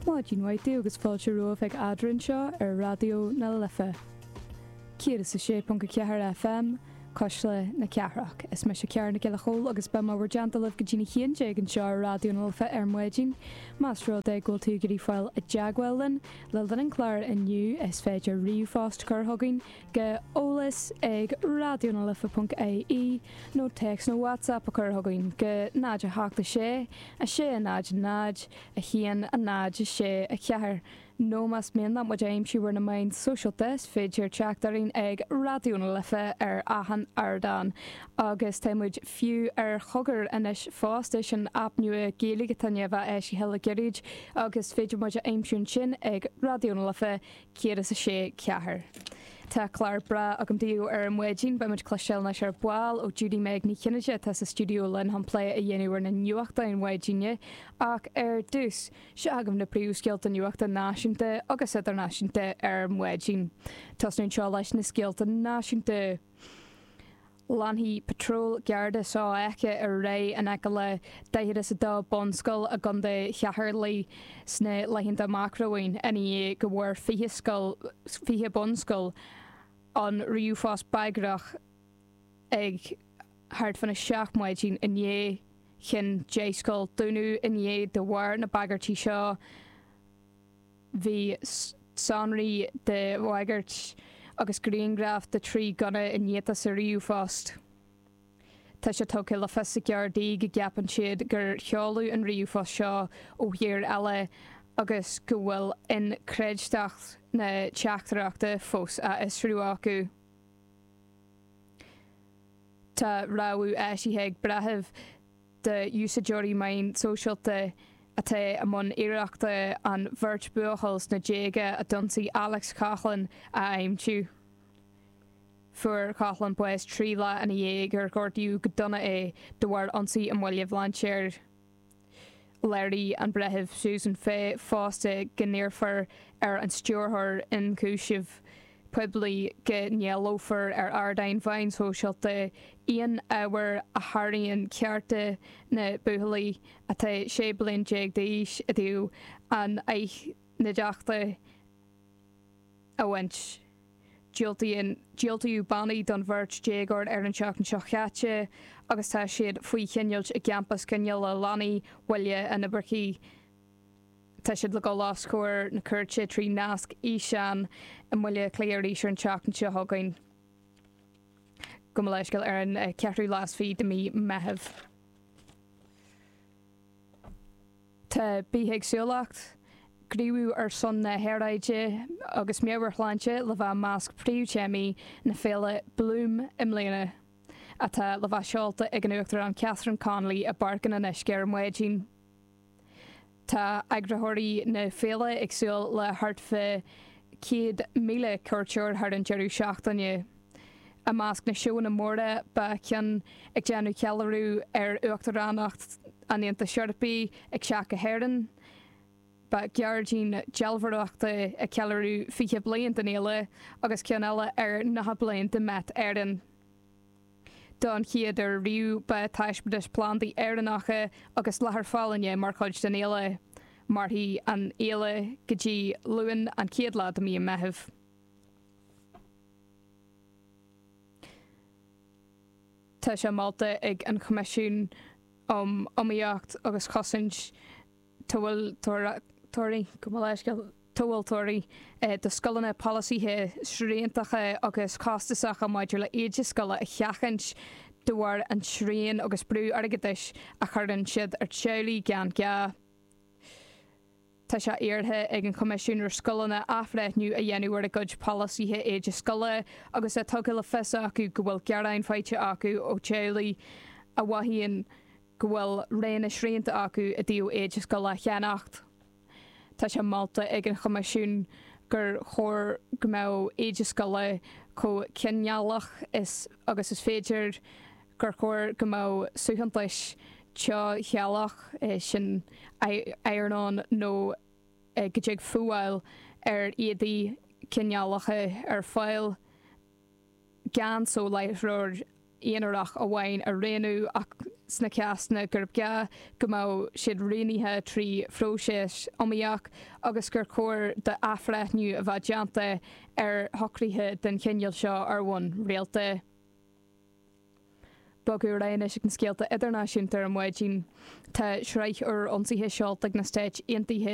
Maidin mhaith daoibh agus fáilte romhaibh ag Eadrainn anseo ar Raidió na Life 106.4 FM, Cuisle na Cathrach. Is mise Ciara Nic Giolla Chóill agus beidh mé bhur dteannta libh go dtí'n 11 anseo ar Raidió na Life ar maidin. Más rud é go bhfuil tú ag iarraidh fáil i dteagmháil linn le linn an chláir inniu is féidir ríomhphost a chur chugainn go eolas ag raidionalife.ie nó téacs nó WhatsApp a chur chugainn go 0 8 6 6 0 0 1 0 6 4 Nó más mian leat muid a aimsiú ar na meáin sóisialta is féidir teacht orainn ag Raidió na Life ar achan ardán. Agus tá muid fiú ar Chogar anois fosta, sin aip nua Gaeilge atá i ndiaidh a bheith eisithe le gairid agus is féidir muid a aimsiú ansin ag Raidió na Life 106 4. Tá clár breá agam daoibh ar maidin. Beidh muid ag cloisteáil anois ar ball ó Judy Meg Ní Chinnéide atá sa stiúideo linn chun plé a dhéanamh ar na nuachtáin mhaidine. Ach ar dtús, seo agaibh na príomhscéalta nuachta náisiúnta agus idirnáisiúnta ar maidin. Tosnú anseo leis na scéalta náisiúnta. Leanfaidh patról Garda sofheicthe ar aghaidh in aice le 42 bunscoil i gContae Cheatharlach sna laethanta amach romhainn ina dhiaidh go bhfuair 20 scoil, 20 bunscoil ann ríomhphost bagrach ag thart fána 7 maidin inné. Chinn 10 scoil dúnadh inné de bharr na bagairtí seo. Bhí sonraí de bhagairt agus grianghraif de 3 gunna iniata sa ríomhphost. Tá sé tugtha le fios ag Gardaí go gceapann siad gur sheoladh an ríomhphost seo ó thír eile agus go bhfuil inchreidteacht na teachtaireachta fós á fhiosrú acu. Tá rabhadh eisithe ag breitheamh d'úsáideoirí meán sóisialta atá i mbun iarrachta an bheirt buachaill sna déaga a d'ionsaigh Alex Coughlan a aimsiú. Fuair Coughlan bás 3 lá ina dhiaidh gur gortaíodh go dona é de bharr ionsaí i mBaile Bhlainséir. Léirigh an Breitheamh Susan Fay fosta go n-iarrfar ar an Stiúrthóir Ionchúiseamh Poiblí go n-éileofar ar ardáin mheáin shóisialta aon ábhar a sháraíonn cearta na buachaillí atá 16 bliain d'aois i dtaobh a n-aithnideachta a bhaint. Diúltaíodh bannaí don bheirt déagóir ar an tseachtain seo chaite agus tá siad faoi choinneáilt i gcampas coinneála leanaí Bhaile an Oibearcaigh. Tá siad le dul os comhair na cúirte trí nasc fhíseáin i mBaile Átha Cliath arís ar an tseachtain seo chugainn. Gabh mo leithscéal, ar an cheathrú lá is fiche de mhí Meitheamh. Tá bithéagsúlacht, gníomhú ar son na haeráide agus meabhairshláinte le bheith i measc príomhthéamaí na féile Bloom i mbliana, atá le bheith seolta ag an Uachtarán Catherine Connolly i bPáirc an Fhionnuisce ar maidin. Tá eagraitheoirí na féile ag súil le thart fá 100,000 cuairteoir thar an deireadh seachtaine. I measc na seóanna móra beidh ceann ag déanamh ceiliúradh ar Uachtaránacht an Aontais Eorpaigh ag teacht go hÉirinn, beidh gairdín dealbhóireachta ag ceiliúradh 20 bliain den fhéile agus ceann eile ar 90 bliain de Met Éireann. Don chéad uair riamh beidh taispeántais plandaí Éireannacha agus leathair phalainne mar chuid den fhéile. Mairfidh an fhéile go dtí Luan an chéad lá de mhí an Mheithimh. Tá sé molta ag an Choimisiún um Iomaíocht agus Chosaint Tomhaltóirí, gabh mo leithscéal, Tomhaltóirí do scoileanna polasaithe sriantacha agus costasacha maidir le éide scoile a sheachaint de bharr an srian agus brú airgeadais a chuireann siad ar teaghlaigh gan gá. Tá sé iarrtha ag an Choimisiún ar scoileanna athbhreithniú a dhéanamh ar a gcuid polasaithe éide scoile agus é tugtha le fios acu go bhfuil gearáin faighte acu ó theaghlaigh a mhaíonn go bhfuil roghanna srianta acu i dtaobh éide scoile a cheannacht. Tá sé molta ag an Choimisiún gur chóir go mbeadh éide scoile chomh cineálach is agus is féidir, gur chóir go mbeadh suaitheantais teo-cheallach, sin iron-on nó go dtig fuáil ar éadaí cineálacha ar fáil gan soláthróir. aonarach amháin a roghnú ach sna cásanna gurb gá go mbeadh siad roghnaithe trí phróiseas iomaíoch agus gur chóir d'athbhreithniú a bheith déanta ar shocruithe den chineál seo ar bhonn rialta. Bogadh ar aghaidh anois ag na scéalta idirnáisiúnta ar maidin. Tá sraith úr ionsaithe seolta ag na Stáit Aontaithe.